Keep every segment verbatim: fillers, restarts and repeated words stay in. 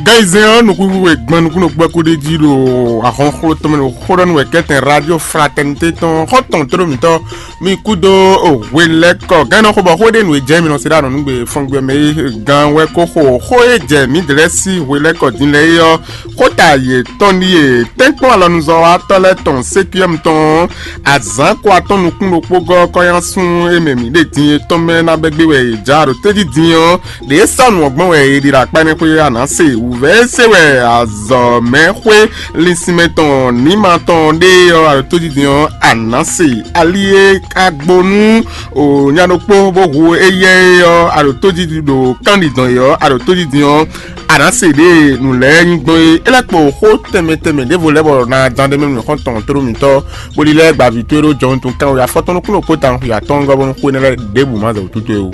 Gɛnzɛn ɔ́, nukúnxwe gban nukúnnú gbɛkú ɖé jí ɖo ahɔnxló tɔn mɛ ɖo xó ɖɔ nú wɛ kɛ́tɛn Radio Fraternité tɔn xɔ́ntɔn tlóló mǐtɔn mi kú dó hwelɛ́kɔ. Gɛ́n nɔ xo bɔ xó ɖé nǔ e jɛ mi nɔ se ɖo anɔ̌nugbe fɔngbɛ mɛ é gán wɛ kó xo xó e jɛ mǐ dlɛ́ sí hwelɛ́kɔ din lɛ́ɛ é ɔ́, xóta yětɔn ɖíe: tɛ́nkpɔ́n alɔnuzɔ́watɔ́ lɛ́ɛ tɔn sékúyɛ́mu tɔn azǎn ko atɔ́n nukún ɖokpó gɔ́ kɔ́nyásún e mɛ mǐ ɖe din é tɔn mɛ ná bɛ́ gbé wɛ è jǎ ɖo tójí din ɔ́, ɖě sɔ́ nǔ ɔ́ gbɔn wɛ è ɖi ɖo akpá énɛ́ xwé a nǎ se. Wǔvɛ́ e se wɛ azɔ̌mɛxwé linsinmɛ tɔn nǐma tɔn ɖe ɔ́, aɖǒtójijɛ ɔ́, a nǎ se. Ali e ka gbo nú nya ɖokpó bó hu éyɛ́ é ɔ́, aɖǒtójiji ɖo kánɖidɔn é ɔ́, aɖǒtójijɛ ɔ́, a nǎ se ɖě nǔ lɛ́ɛ nyí gbɔn é. É lɛ́ kpo xó tɛnmɛ tɛnmɛ ɖěvo lɛ́ɛ bɔ ná dán ɖ'é mɛ nú xɔ́ntɔn tlóló mǐtɔn, bó lílɛ́ gbaví towe ɖó jɔhɔn tun kánwé afɔtɔn nukún ɖokpó tawun xwe atɔ́ɔ́ngɔ́ bónú xó énɛ́ lɛ́ɛ ɖěbǔ ma zɛ wǔtútú é wú.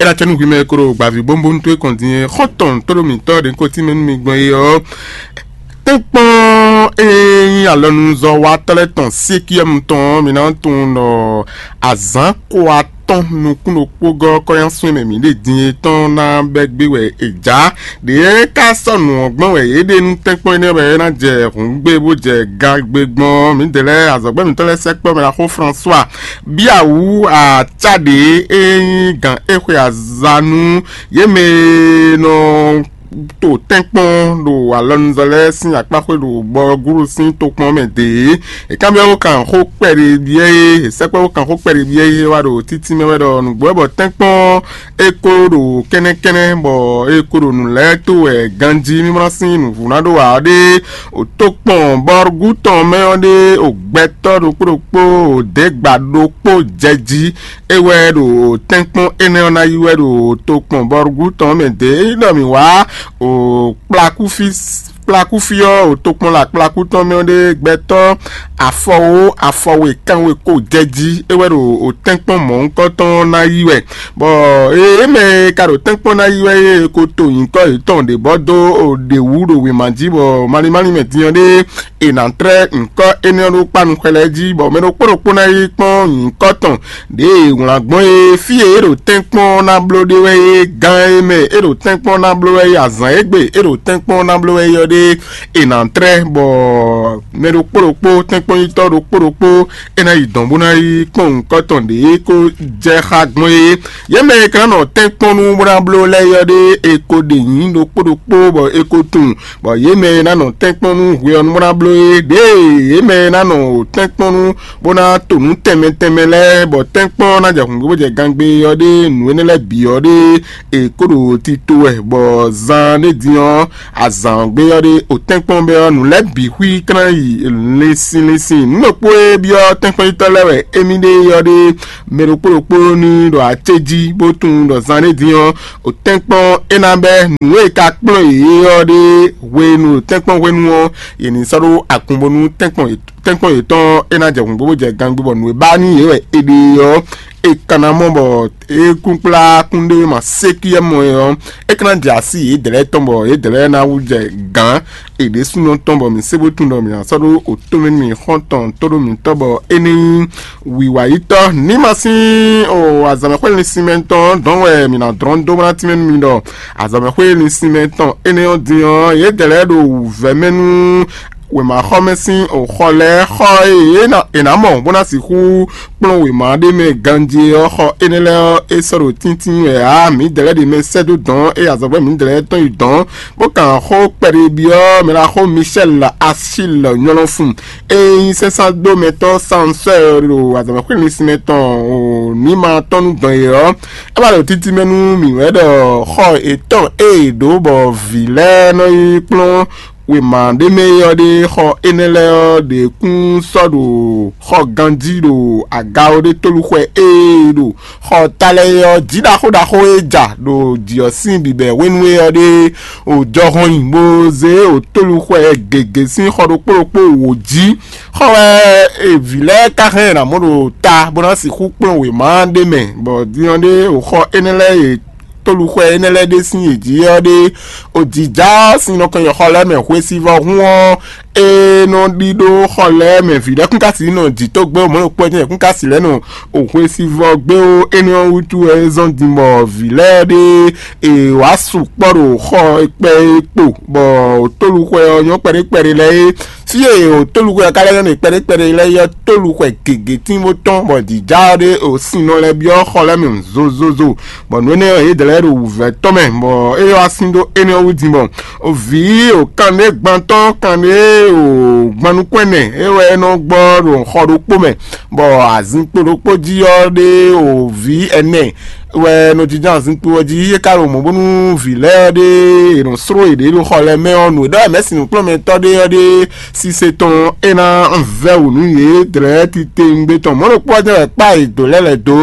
É ná cɛ́ nú hwi mɛ e ko ɖo gbaví bónbónú towe kɔn din é, xɔ́ntɔn tóɖó mǐtɔn ɖě ko tínmɛ nú mi gbɔn é ɔ́, tɛ́nkpɔ́n e nyí alɔnuzɔ́watɔ́ lɛ́ɛ tɔn Sékiyɛ́mu tɔn ɔ́, mi ná tunwun ɖɔ azǎn ko atɔ́n nukún ɖokpó gɔ́ kɔ́nyásún e mɛ mǐ ɖe din é tɔn ná bɛ́ gbé wɛ è jǎ. Ɖě ka sɔ́ nǔ ɔ́ gbɔn wɛ yě ɖe nú tɛ́nkpɔ́n énɛ́ wɛ é ná jɛ hǔngbe bó jɛ gagbe gbɔn. Mǐdɛɛ lɛ́ɛ azɔ̌gbɛ́ mǐtɔn lɛ́ɛ sɛkpɔ́ mɛ ɖaxó François bíawǔ acá ɖě e nyí gǎn é xwe aza nú yě mɛ e nɔ to tɛ́nkpɔ́n ɖo alɔnuzɔ́ lɛ́ɛ sín akpáxwé ɖo bɔgúɖu sín tokpɔn mɛ dě. È kanbyɔ́ bó kan xó kpɛɖé byɔ́ é, è sɛkpɔ́ bó kan xó kpɛɖé byɔ́ é wá ɖo títí mɛ wɛ ɖɔ nǔgbó wɛ bɔ tɛ́nkpɔ́n é ko ɖo kɛ́nɛ́kɛ́nɛ́ bɔ é ko ɖo nǔ lɛ́ɛ tó wɛ ganjí mímlá sín nǔvú ná ɖó ǎ ɖé. Ò tó kpɔn bɔ́rúgú tɔn mɛ ɔ́ ɖé, ò gbɛtɔ́ ɖokpó ɖokpó, ò dě gba ɖokpó jɛ jí. É wɛ ɖo tɛ́nkpɔ́n énɛ́ ɔ́ ná yí wɛ ɖo tokpɔn bɔ́rúgú tɔn mɛ dě. É nyí ɖɔ mǐ wá ò kplakúfí kplakúfí ɔ́, ò tokpɔn la kplakú tɔn mɛ ɔ́ ɖé gbɛtɔ́ afɔwó afɔwe kanwe ko jɛ jí. É wɛ ɖo ò tɛ́nkpɔ́n mɔ̌hunkɔtɔn ná yí wɛ. Bɔ é mɛ e ka ɖo tɛ́nkpɔ́n ná yí wɛ é ko to nyǐkɔ yětɔn ɖě bɔ dó ò ɖě wú ɖo wěma jí, bɔ malín málín mɛ din ɔ́ ɖé è nǎ tlɛ́ nyǐkɔ énɛ́ ɔ́ ɖó kpá nukɔn lɛ́ɛ jí, bɔ mɛ ɖokpó ɖokpó ná yi kpɔ́n nyǐkɔ tɔn ɖěe è wlǎn gbɔn é. Fí e é ɖo tɛ́nkpɔ́n ná bló ɖe wɛ é, gán e mɛ é ɖo tɛ́nkpɔ́n ná bló wɛ é, azǎn e gbe é ɖo tɛ́nkpɔ́n ná bló wɛ é ɔ́ ɖé è nǎ tlɛ́, bɔ mɛ ɖokpó ɖokpó, tɛ́nkpɔ́nyitɔ́ ɖokpó ɖokpó, é ná yi dɔ̌n bó ná yi kpɔ́n nyǐkɔ tɔn ɖě é ko jɛ xá gbɔn é. Yě mɛ e ka ná nɔ tɛ́nkpɔ́n nú bó ná bló lɛ́ɛ é ɔ́ ɖé è ko ɖe nyǐ ɖokpó ɖokpó bɔ è ko tunwun, bɔ yě mɛ e ná nɔ tɛ́nkpɔ́n nú hwe ɔ́ nú bó ná bló é ɖěe yě mɛ e ná nɔ tɛ́nkpɔ́n nú bó ná to nǔ tɛnmɛ tɛnmɛ lɛ́ɛ, bɔ tɛ́nkpɔ́n ná jɛ hǔngbó bó jɛ gangbé ɔ́ ɖé nǔ énɛ́ lɛ́ɛ bǐ ɔ́ ɖé è kó ɖo tito wɛ, bɔ zan ɖé din ɔ́, azǎn ɔ́ gbé ɔ́ ɖé, ò tɛ́nkpɔ́n bɛ́ ɔ́, nǔ lɛ́ɛ bǐ xwí kán yi linsin linsin. Nǔ ɖokpó e byɔ́ tɛ́nkpɔ́nyitɔ́ lɛ́ɛ wɛ émí ɖe é ɔ́ ɖé, mɛ ɖokpó ɖokpó ní ɖo acéjí bó tunwun ɖɔ zan ɖé din ɔ́, ò tɛ́nkpɔ́n é ná bɛ́ nǔ e ka kplɔ́n yě é ɔ́ ɖé hwenu ɖo tɛ́nkpɔ́n hwenu ɔ́, yě ní sɔ́ ɖó agun bónú tɛ́nkpɔ́n yě tɛ́nkpɔ́n yětɔn é ná jɛ hǔngbó bó jɛ gangbé, bɔ nǔ e ba nú yě wɛ è ɖe ɔ́, è ka ná mɔ bɔ é kún kplá kúnɖéwéma sékúyɛ́mɔ é ɔ́, é ka ná jɛ así yědɛɛ lɛ́ɛ tɔn bɔ yědɛɛ lɛ́ɛ ná wú jɛ gǎn è ɖésúnɔ tɔn, bɔ mǐ sé bó tunwun ɖɔ mǐ ná sɔ́ ɖó òtómɛ nú mǐ xɔ́ntɔn tó ɖó mǐtɔn, bɔ é ní nyí wǐwayítɔ́ ní ma sín o azɔ̌mɛxwé linsinmɛ tɔn dɔn wɛ mǐ ná dlɔ́n dó bó ná tínmɛ nú mi ɖɔ azɔ̌mɛxwé linsinmɛ tɔn énɛ́ ɔ́ din ɔ́, yědɛɛ lɛ́ɛ ɖo wǔvɛ́ mɛ nú wěmaxɔmɛ sín xɔ lɛ́ɛ, xɔ e è nǎ mɔ bó ná sixú kplɔ́n wěma ɖé mɛ ganjí ɔ́, xɔ énɛ́ lɛ́ɛ ɔ́, é sɔ́ ɖo tíntín wɛ ǎ. Mǐdɛɛ lɛ́ɛ ɖě mɛ sɛ́ dó dɔ̌n, ée azɔ̌gbɛ́ mǐdɛɛ lɛ́ɛ tɔn yi dɔ̌n, bó kan xó kpɛɖé byɔ́ mɛ ɖaxó Michel Achille Nyɔlɔfun, e nyí sɛ́nsándómɛtɔ́ Sansɔ́ɔ ɖo azɔ̌mɛxwé linsinmɛ tɔn ní ma tɔn nú dɔn e ɔ́, é wá ɖo títí mɛ nú mǐ wɛ ɖɔ xɔ yětɔn e è ɖǒ bɔ vǐ lɛ́ɛ nɔ yi kplɔ́n wěma ɖé mɛ é ɔ́ ɖe, xɔ énɛ́ lɛ́ɛ ɔ́ ɖě kún sɔ́ ɖo xɔ ganjí ɖo aga ɔ́ ɖé tóluxwɛ e ɖo xɔ ta lɛ́ɛ é ɔ́, jǐ ɖaxó ɖaxó e ja ɖo jǐ ɔ́ sín bǐbɛ́ hwenu é ɔ́ ɖe, o jɔhɔn nyi bó zé o tóluxwɛ gěgé sín xɔ ɖokpó ɖokpó wǒ jí. Xɔ wɛ vǐ lɛ́ɛ ka hɛn ná mɔ ɖo ta bó ná sixú kplɔ́n wěma ɖé mɛ, bɔ din ɔ́ ɖe o xɔ énɛ́ lɛ́ɛ e tóluxwɛ énɛ́ lɛ́ɛ ɖe sín yě jí ɔ́ ɖe, o jǐjá ɔ́ sín nɔ kɔn nyi xɔ lɛ́ɛ mɛ hwesivɔ́ hún ɔ́, e nɔ ɖi ɖó xɔ lɛ́ɛ mɛ vǐ lɛ́ɛ kún ka si nɔ jǐ tó gbé o, mɔ̌ ɖokpó ɔ́ jɛ́n yě kún ka si lɛ́ɛ nɔ o hwesivɔ́ gbé o. Énɛ́ ɔ́ wútu wɛ é zɔ́n din bɔ vǐ lɛ́ɛ ɖé è wǎ sukpɔ́ ɖo xɔ e kpɛ é kpo, bɔ tóluxwɛ ɔ́ nyɔ́ kpɛɖé kpɛɖé lɛ́ɛ é. Fí e tóluxwɛ ɔ́ ka lɛ́ nyɔ́ nyi kpɛɖé kpɛɖé lɛ́ɛ é ɔ́, tóluxwɛ gěgé tín bó tɔ́n, bɔ jǐjá ɔ́ ɖé o sin nɔ lɛ́ byɔ́ xɔ lɛ́ɛ mɛ zozozo, bɔ nǔ énɛ́ ɔ́ yě dlɛ̌ ɖo wǔvɛ́ tɔn mɛ, bɔ é wá sín dó énɛ́ ɔ́ wú din bɔ vǐ o kanɖé gbantɔ́ kanɖé o gbannukún ɛnɛ é wɛ é nɔ gbɔ ɖo xɔ ɖokpó mɛ, bɔ azinkpo ɖokpó jí ɔ́ ɖé o vǐ ɛnɛ wɛ nɔ jínjɔ́n azinkpo ɔ́ jí. É ka ɖo mɔ̌ bónú vǐ lɛ́ɛ ɔ́ ɖé è nɔ sló yěɖée ɖo xɔ lɛ́ɛ mɛ ɔ́, nǔ e ɖɔ wɛ mɛ̌si nǔkplɔ́nmɛtɔ́ ɖé ɔ́ ɖé sise tɔn é ná vɛ́ wǔ nú yě dlɛ̌ titewungbe tɔn. Mɔ̌ ɖokpó ɔ́ jɛ́n wɛ kpá e dǒ lɛ́ lɛ̌ dó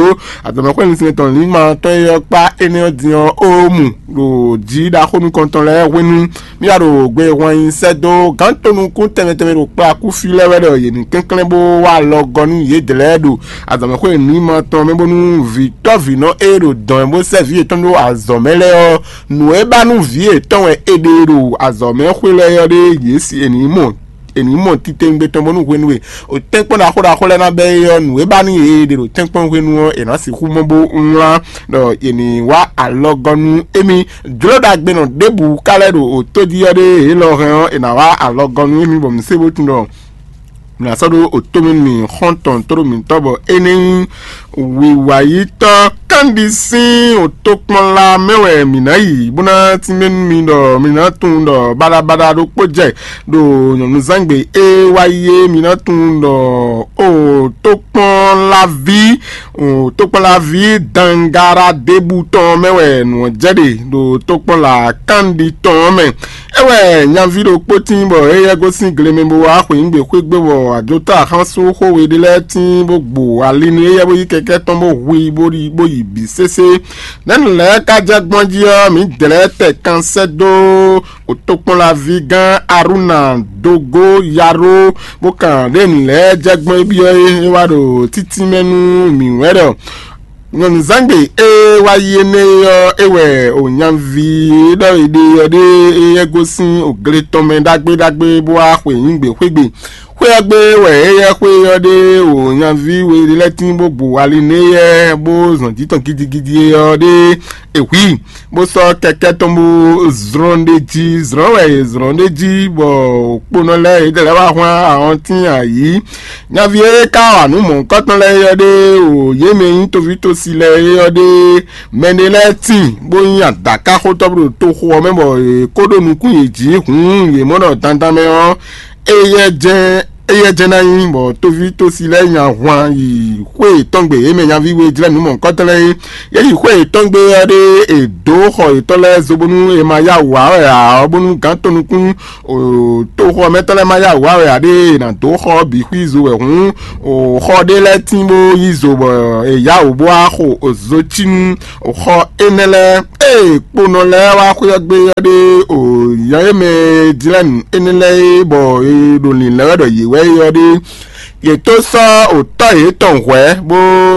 azɔ̌mɛxwé linsinmɛ tɔn Lǐma tɔn e ɔ́ kpá énɛ́ ɔ́ din ɔ́, ó mu ɖo jǐ ɖaxó nukɔntɔn lɛ́ɛ hwenu. Mì wá ɖo gbe hwan nyi sɛ́ dó gǎn tonukún tɛnmɛ tɛnmɛ ɖo kplakúfí lɛ́ɛ wɛ ɖɔ yě ní kɛnklɛ́n bó wá alɔ gɔ́ nú yědɛɛ lɛ́ɛ ɖo azɔ̌mɛxwé nǔnyiman tɔn mɛ, bónú vǐtɔ́vǐnɔ e ɖo dɔ̌n mɛ bó sɛ́ vǐ yětɔn ɖó azɔ̌ mɛ lɛ́ɛ ɔ́, nǔ e ba nú vǐ yětɔn wɛ è ɖe ɖo azɔ̌mɛxwé lɛ́ɛ ɔ́ ɖé yě si è nǐ mɔ è nǐ mɔ titewungbe tɔn bónú hwenu e o tɛ́nkpɔ́n ɖaxó ɖaxó lɛ́ɛ ná bɛ́ é ɔ́, nǔ e ba nú yě e ɖe ɖo tɛ́nkpɔ́n hwenu ɔ́, è nǎ sixú mɔ bó wlán ɖɔ è nǐ wá alɔgɔ́ nú émí. Jló ɖagbenɔ ɖěbǔ ka lɛ́ ɖo o tó jí ɔ́ ɖé, è lɔ hɛn ɔ́, è nǎ wá alɔgɔ́ nú émí bɔ mǐ se bó tunwun ɖɔ mǐ ná sɔ́ ɖó o tó mɛ nú mì xɔ́ntɔn tóɖó mǐtɔn bɔ é ní nyí wǐwayítɔ́ kanɖi sín o tokpɔnla mɛ wɛ mǐ ná yi, bó ná tínmɛ nú mi ɖɔ mi ná tunwun ɖɔ baɖabaɖa ɖokpó jɛ ɖo nyɔ̌nuzángbe e wá yi é. Mi ná tunwun ɖɔ o tokpɔnlaví, o tokpɔnlaví dangara ɖěbǔ tɔn mɛ wɛ nǔ ɔ́ jɛ ɖe ɖo tokpɔnla kanɖi tɔn ɔ́ mɛ. É wɛ nyaví ɖokpó tín bɔ éyɛ́ gosín gle mɛ bó wá xweyǐgbe xwé gbe, bɔ ajotɔ́ axánsúnxó we ɖé lɛ́ɛ tín bó gbo ali nú éyɛ́ bó yí kɛkɛ́ tɔn bó hu i bó yi bó yi bǐ sésé. Nɛ̌ nǔ lɛ́ɛ ka jɛ gbɔn jí ɔ́, mǐ dlɛ̌ tɛ kan sɛ́ dó tokpɔnlaví gán Arúna dógó yaró, bó kan ɖě nǔ lɛ́ɛ jɛ gbɔn é byɔ́ é, é wá ɖo títí mɛ nú mǐ wɛ ɖɔ nyɔ̌nuzángbe e wá yi énɛ́ é ɔ́, é wɛ o nyaví e ɖɔ è ɖe ɔ́ ɖe éyɛ́ gosín o gle tɔn mɛ ɖagbe ɖagbe bó wá xweyǐgbe xwé gbe. Xwé ɔ́ gbe wɛ éyɛ́ xwé ɔ́ ɖe o nyaví we ɖé lɛ́ɛ tín bó gbo ali nú éyɛ́ bó zɔn jǐ tɔn gidigidi é ɔ́ ɖe è hu i, bó sɔ́ kɛkɛ́ tɔn bó zlɔ́n ɖ'é jí. Zlɔ́n wɛ è zlɔ́n ɖ'é jí bɔ kponɔ lɛ́ɛ yědɛɛ lɛ́ɛ wá hwlán ahɔntín ayǐ. Nyaví e ka wa nǔ mɔ̌hunkɔtɔn lɛ́ɛ é ɔ́ ɖe o yě mɛ e nyí toví tosi lɛ́ɛ é ɔ́ ɖe mɛɖé lɛ́ɛ tíin bó nyí adǎkáxotɔ́ bó ɖo toxo ɔ́ mɛ bɔ yě kó ɖó nukún yě jí hǔn yě mɔ ɖɔ dandan mɛ ɔ́, éyɛ́ jɛ́n éyɛ́ jɛ́n ná nyí, bɔ toví tosi lɛ́ɛ nya hwan yi xwé yětɔn gbe, yě mɛ nyaví we jlɛ́ nǔ mɔ̌hunkɔtɔn lɛ́ɛ é. Yě yi xwé yětɔn gbe ɔ́ ɖe è dǒ xɔ yětɔn lɛ́ɛ zo bónú è ma yá wǔ wá wɛ ǎ ɔ́, bónú gǎn tɔn nukún toxɔ mɛtɔn lɛ́ɛ ma yá wǔ wá wɛ ǎ ɖe è nǎ dó xɔ ɔ́ bǐ xwí zo wɛ hǔn, xɔ ɖé lɛ́ɛ tín bó yí zo bɔ è yá wǔ bó wá xo zocínu xɔ énɛ́ lɛ́ɛ. Ée kponɔ lɛ́ɛ wá xwé ɔ́ gbe ɔ́ ɖe o nya e mɛ jlɛ́ nǔ énɛ́ lɛ́ɛ é bɔ è ɖo lǐnlɛ́n wɛ ɖɔ yě wɛ é ɔ́ ɖe, yě tó sɔ́ o tɔ́ yětɔn hwɛ̌, bó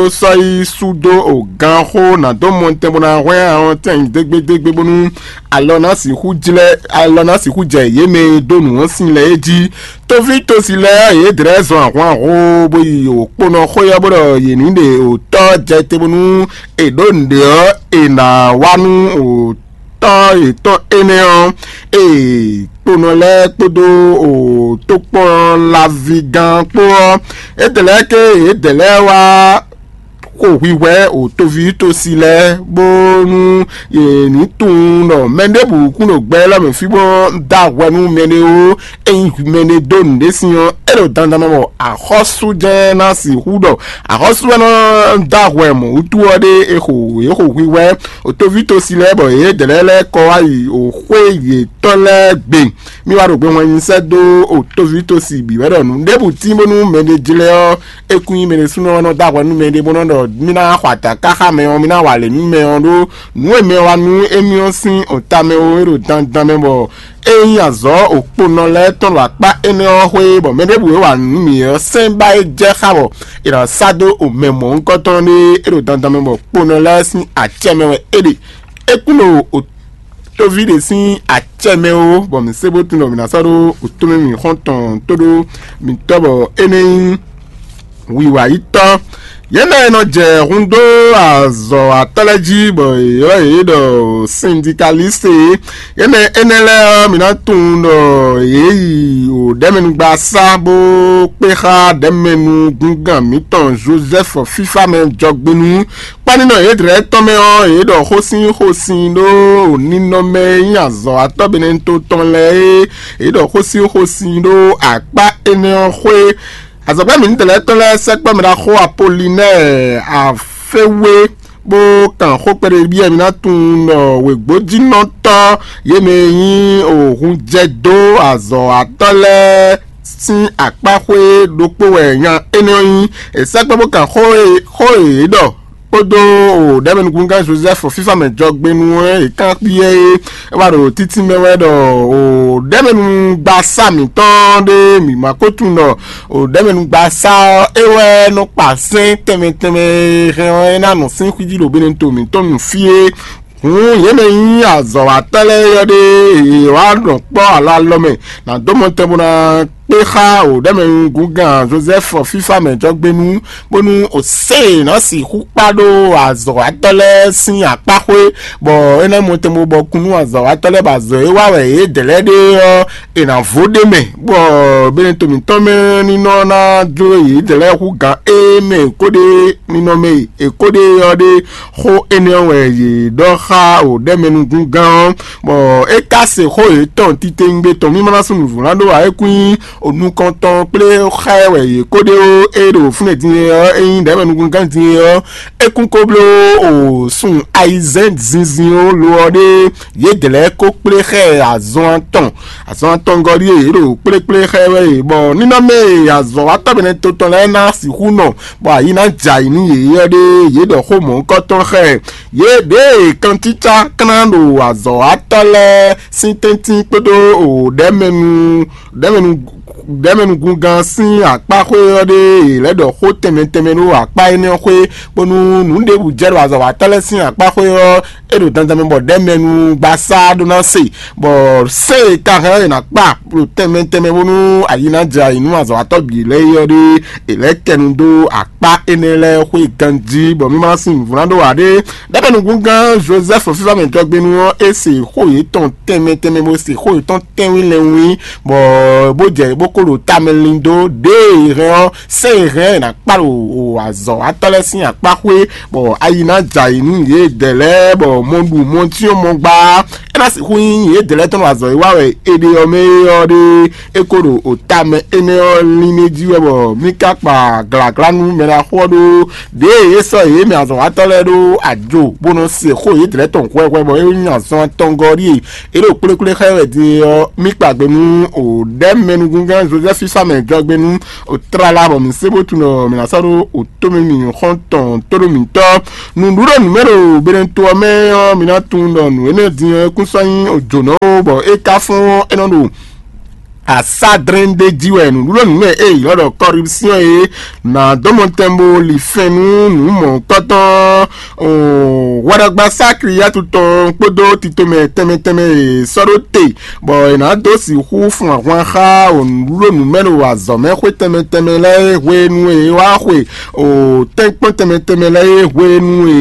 sɔ́ yi sú dó o ganxó ná dó mɔtɛn bó ná hwɛ́n ahɔntɛn dégbédégbé bónú alɔ ná sixú jlɛ́ alɔ ná sixú jɛ yě mɛ e dó nǔ ɔ́ sin lɛ́ɛ é jí. Tóví tosi lɛ́ɛ yě dlɛ̌ zɔn ahwanho bó yi o kponɔ xwé ɔ́ bó ɖɔ yě ní ɖe o tɔ́ jɛ te bónú è ɖǒ nǔɖé ɔ́, è nǎ wá nú o tɔ́ yětɔn énɛ́ ɔ́, ee kponɔ lɛ́ɛ kpódó o tokpɔnlaví gán kpó ɔ́, étɛ́ lɛ́ɛ ké yědɛɛ lɛ́ɛ wá xo hwihwɛ o toví tosi lɛ́ɛ, bónú yě ní tunwun ɖɔ mɛ ɖěbǔ kún ɖo gbɛ élɔ́ mɛ fí bó dó ahwɛ nú mɛɖé ó. Ényí mɛɖé dó nǔɖé sin ɔ́, é ɖo dandan mɛ bɔ axɔ́sú jɛ́n ná sixú ɖɔ axɔ́sú wɛ nɔ dó ahwɛ mɔ̌ wútu ɔ́ ɖé. È xo yě xo hwihwɛ o toví tosi lɛ́ɛ bɔ yě dɛ̌lɛ́ lɛ́ɛ kɔ wá yi o xwé yětɔn lɛ́ɛ gbe. Mì wá ɖo gbe wɛn nyi sɛ́ dó o toví tosi bǐ wɛ ɖɔ nǔ ɖěbǔ tín bónú mɛɖé jlɛ́ ɔ́, é kún nyí mɛ ɖésúnɔ ɔ́ nɔ dó ahwɛ nú mɛɖé bó nɔ́ ɖɔ mì ná xɔ adǎ káxá mɛ ɔ́, mì ná wa lě nú mɛ ɔ́ ɖó nǔ e mɛ ɔ́ wa nú émí ɔ́ sín ota mɛ ó, é ɖo dandan mɛ bɔ é nyí azɔ̌ okponɔ lɛ́ɛ tɔn ɖo akpá énɛ́ ɔ́ xwé, bɔ mɛ ɖěbǔ e wa nǔ nú mǐ ɔ́ sɛ́n ba é jɛ xá bɔ è nǎ sá dó o mɛ mɔ̌hunkɔtɔn ɖé. É ɖo dandan mɛ bɔ kponɔ lɛ́ɛ sín acɛ mɛ wɛ é ɖe. É kún ɖo o tóví ɖé sín acɛ mɛ ó, bɔ mǐ se bó tunwun ɖɔ mǐ ná sɔ́ ɖó wǔtúmɛ mǐ xɔ́ntɔn tó ɖó mǐtɔn, bɔ énɛ́ nyí wiwa yítɔ́. Yě mɛ e nɔ jɛ hun dó azɔ̌watɔ́ lɛ́ɛ jí, bɔ yě ylɔ́ yě ɖɔ sindikalíse. Yě mɛ énɛ́ lɛ́ɛ ɔ́, mǐ ná tunwun ɖɔ yě yi ɖɛ̌mɛnugbasá bó kpé xá ɖɛ̌mɛnugúngán mǐtɔn Jozɛ́fu fífá mɛ jɔgbénu. Kpánínɔ yědrɛ́ tɔn mɛ ɔ́, yě ɖɔ xósin xósin ɖó ninɔmɛ e nyí azɔ̌watɔ́ Benɛto tɔn lɛ́ɛ é, yě ɖɔ xósin xósin ɖó akpá énɛ́ ɔ́ xwé. Azɔ̌gbɛ́ mǐtɛn lɛ́ɛ tɔn lɛ́ɛ sɛkpɔ́ mɛ ɖaxó Apolinɛ́ɛ Aféwé bó kan xó kpɛɖé byɔ́ mǐ ná tunwun ɖɔ wěgbójínɔtɔ́ yě mɛ e nyí òhunjɛdó azɔ̌watɔ́ lɛ́ɛ sín akpáxwé ɖokpó wɛ nya énɛ́ ɔ́ nyí. È sɛkpɔ́ bó kan xó e xó e yě ɖɔ kpódó ɖɛ̌mɛnugúngán Jozɛ́fu fífá mɛ jɔgbénu e è kán kpíyɛ é, é wá ɖo títí mɛ wɛ ɖɔ ɖɛ̌mɛnugbasá mǐtɔn ɖé mǐ ma ko tunwun ɖɔ ɖɛ̌mɛnugbasá ɔ́ é wɛ nɔ kpa sɛ́n tɛnmɛ tɛnmɛ e hɛn ɔ́ é ná nɔ sín xwíjí ɖo Benɛto mǐtɔn nu fí é. Hǔn yě mɛ nyí azɔ̌watɔ́ lɛ́ɛ ɔ́ ɖé, yě wá nɔ kpɔ́ alɔ alɔ mɛ ná dó mɔ tɛn bó ná kpé xá ɖɛ̌mɛnugúngán Jozɛ́fu fífá mɛ jɔgbénu, bónú òsè ná sixú kpá ɖó azɔ̌watɔ́ lɛ́ɛ sín akpáxwé, bɔ é ná mɔ tɛn bó bɔ kún nú azɔ̌watɔ́ lɛ́ɛ bɔ azɔ̌ e wa wɛ yědɛɛ lɛ́ɛ ɖe ɔ́, è nǎ vo ɖ'é mɛ, bɔ Benɛto mǐtɔn mɛ ní nɔ ná jó yědɛɛ lɛ́ɛ hú gǎn éé mɛ è ko ɖe ninɔmɛ e è ko ɖe ɔ́ ɖe. Xó énɛ́ ɔ́ wɛ yě ɖɔ xá ɖɛ̌mɛnugúngán ɔ́, bɔ é ka se xó yětɔn titewungbe tɔn mímá ná sú nǔvlán ɖó ǎ. É kún nyí onukɔntɔn kplé xá ɛ wɛ yě ko ɖe ó. É ɖo fúnɛ́ din é ɔ́, é nyí ɖɛ̌mɛnugúngán din é ɔ́, é kún ko bló o sun ayizɛ́n zinzin ó lo ɔ́ ɖé yědɛɛ lɛ́ɛ ko kplé xá ɛ azɔn atɔn. Azɔn atɔngɔ́ ɖíe yě ɖo kplékplé xá ɛ wɛ e, bɔ nínɔmɛ e azɔ̌watɔ́ Benɛto tɔn lɛ́ɛ ná sixú nɔ, bɔ ayǐ ná jɛ ayǐ nú yě é ɔ́ ɖé, yě ɖɔ xó mɔ̌hunkɔtɔn xá ɛ. Yě ɖěe kantícá klán ɖo azɔ̌watɔ́ lɛ́ɛ sín tɛ́ntin kpódó ɖɛ̌mɛnu ɖɛ̌mɛnu ɖɛ̌mɛnugúngán sín akpáxwé ɔ́ ɖé, yě lɛ́ ɖɔ xó tɛnmɛ tɛnmɛ ɖó akpá énɛ́ ɔ́ xwé, bónú nǔ ɖěbǔ jɛ ɖo azɔ̌watɔ́ lɛ́ɛ sín akpáxwé ɔ́, é ɖo dandan mɛ bɔ ɖɛ̌mɛnugbasá ɖó ná se, bɔ sɛ́n e ka hɛn ɔ́ è nǎ kpa ɖo tɛnmɛ tɛnmɛ bónú ayǐ ná jɛ ayǐ nú azɔ̌watɔ́ bǐ lɛ́ɛ é ɔ́ ɖé, è lɛ́ kɛ nu dó akpá énɛ́ lɛ́ɛ xwé ganjí, bɔ mí ma ná sín nǔvlán ɖó ǎ ɖé. Ɖɛ̌mɛnugúngán Jozɛ́fu fífá mɛ jɔgbénu ɔ́, é se xó yětɔn tɛnmɛ tɛnmɛ, bó se xó yětɔn tɛ́nwín lɛ́nwín, bɔ bó jɛ bó ko ɖo tamɛ lin dó ɖěe è hɛn ɔ́, sɛ́n e hɛn ɔ́ è nǎ kpá ɖo azɔ̌watɔ́ lɛ́ɛ sín akpáxwé, bɔ ayi ná jɛ ayǐ nú yědɛɛ lɛ́ɛ, bɔ mɔ ɖu mɔ cyɔ́n mɔ gbá. É ná sixú nyí yědɛɛ lɛ́ɛ tɔn ɖo azɔ̌ e wa wɛ è ɖe ɔ́ mɛ é ɔ́ ɖé. É ko ɖo ota mɛ énɛ́ ɔ́ lín jí wɛ, bɔ mí ka kpa glǎglá nú mɛ ɖaxó ɔ́ ɖó ɖěe é sɔ́ yě mɛ azɔ̌watɔ́ lɛ́ɛ ɖó ajo bó nɔ se xó yědɛɛ lɛ́ɛ tɔn hwɛhwɛ, bɔ é nyí azɔn atɔngɔ́ ɖíe é ɖo kplékplé xá wɛ din é ɔ́, mí kpa gbe nú ɖɛ̌mɛnugúngán Jozɛ́fu sísá mɛ jɔgbe nú tlala, bɔ mǐ se bó tunwun ɖɔ mǐ ná sɔ́ ɖó tomɛ mǐ xɔ́ntɔn tóɖó mǐtɔn. Nǔɖuɖu nǔmɛ ɖo Benɛto ɔ́ mɛ ɔ́, mi ná tunwun ɖɔ nǔ énɛ́ din ɔ́, é kún sɔ́ nyí jǒnɔ ó, bɔ é ka fɔ́n ɔ́, é nɔ ɖo asádrɛ́n ɖé jí wɛ. Nǔɖuɖu nǔmɛ e è ylɔ́ ɖɔ corruption é ná dó mɔ tɛn bó li fɛn nú nǔ mɔ̌hunkɔtɔn. Hwɛɖagba Sakliyatu tɔn kpódó titomɛ tɛnmɛ tɛnmɛ e sɔ́ ɖó te, bɔ è nǎ dó sixú fun ahwan xá nǔɖuɖu nǔmɛ ɖo azɔ̌ mɛ xwé tɛnmɛ tɛnmɛ lɛ́ɛ e hwenu e é wá xwe o tɛ́nkpɔ́n tɛnmɛ tɛnmɛ lɛ́ɛ e hwenu e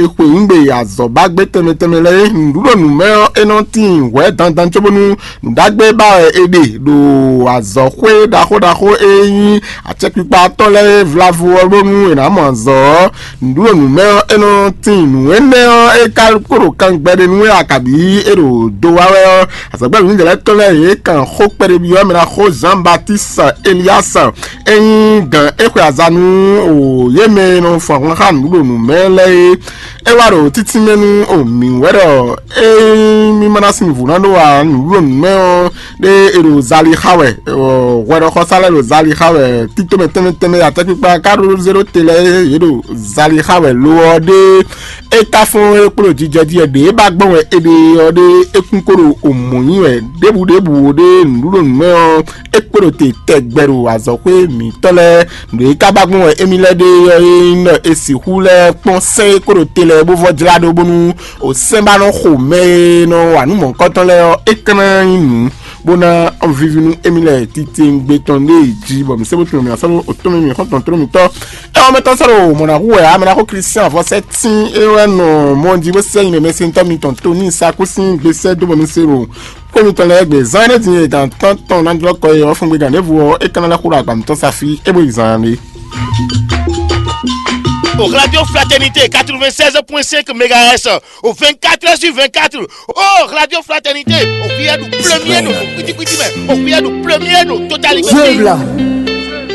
é xwe nǔgbé azɔ̌ ba gbé tɛnmɛ tɛnmɛ lɛ́ɛ é. Nǔɖuɖu nǔmɛ ɔ́, é nɔ tíin hwɛ̌ dandan cóbónú nǔɖagbe ba wɛ è ɖe ɖo azɔ̌xwé ɖaxó ɖaxó e nyí acɛkpikpa tɔn lɛ́ɛ e vlavo ɔ́ bónú è nǎ mɔ azɔ̌ ɔ́. Nǔɖuɖu nǔmɛ ɔ́, é nɔ tíin nǔ énɛ́ ɔ́, é ka kó ɖo kan gbɛɖe nú wɛ a kabǐ é ɖo do wá wɛ ɔ́, azɔ̌gbɛ́ mǐdɛɛ lɛ́ɛ tɔn lɛ́ɛ yě kan xó kpɛɖébyɔ́ mɛ ná xó Jean Baptiste Elias, é nyí gǎn é xwe aza nú o yě mɛ e nɔ fun ahwan xá nǔɖuɖu nǔmɛ lɛ́ɛ é. É wá ɖo títínmɛ nú o mǐ wɛ ɖɔ ényí mí ma ná sin nǔvú ná ɖó ǎ, nǔɖuɖu nǔmɛ ɔ́ ɖé è ɖo za Zali xa wɛ, hwɛɖɔxɔsá lɛ́ɛ ɖo zali xa wɛ, títomɛ tɛnmɛ tɛnmɛ atɛkpikpa ká ɖó zéro te lɛ́ɛ yě ɖo zali xa wɛ lo ɔ́ ɖé. É ka fɔ́n é kpló jijɛ jí wɛ ɖě é ba gbɔn wɛ é ɖe ɔ́ ɖé. É kún kó ɖo omɔ̌ nyi wɛ ɖěbǔ ɖěbǔ ɖé nǔɖuɖu nǔmɛ ɔ́, é kpé ɖo te tɛgbɛ ɖo azɔ̌xwé mǐtɔn lɛ́ɛ. Nǔ e ka ba gbɔn wɛ émí lɛ́ɛ ɖe ɔ́ é nyí ɖɔ è sixú lɛ́ kpɔ́n sɛ́n e kó ɖo te lɛ́ɛ bó vɔ́ jlá ɖó bónú o sɛ́n ba nɔ xo mɛ e nɔ wa nǔ mɔ̌hunkɔtɔn lɛ́ɛ ɔ́, é ka ná nyí nǔ bó ná víví nú émí lɛ́ɛ titewungbe tɔn ɖé jí, bɔ mǐ sɛ́ bó tunwun mǐ ná sɔ́ ɖó otɔ́n mǐ xɔ́ntɔn tló mǐtɔn. É ɔ́ mɛtɔn sɔ́ ɖo mɔ̌ ná hu wɛ ǎ, mɛ ná xó Klístián vɔ́sɛ́ tín é wɛ nɔ mɔ jí bó sɛ́ nyi mɛ mɛsɛntɔ́ mitɔn tó ní sa kú sín gbesɛ dó bɔ mǐ se ɖo xwé mitɔn lɛ́ɛ gbe. Zán énɛ́ din e gan tántɔn ná jlɔ́ kɔ é ɔ́ fúngbé gan ɖěvo ɔ́, é ka ná lɛ́ xó ɖo agba mǐtɔn sa fí é bó yi zan ǎ ɖé. Au Radio Fraternité quatre-vingt-seize point cinq mégahertz, au vingt-quatre heures sur vingt-quatre. Oh, Radio Fraternité, au cuillère du premier, nous, petit, petit, mais au cuillère du premier, nous, totalité. Vive là.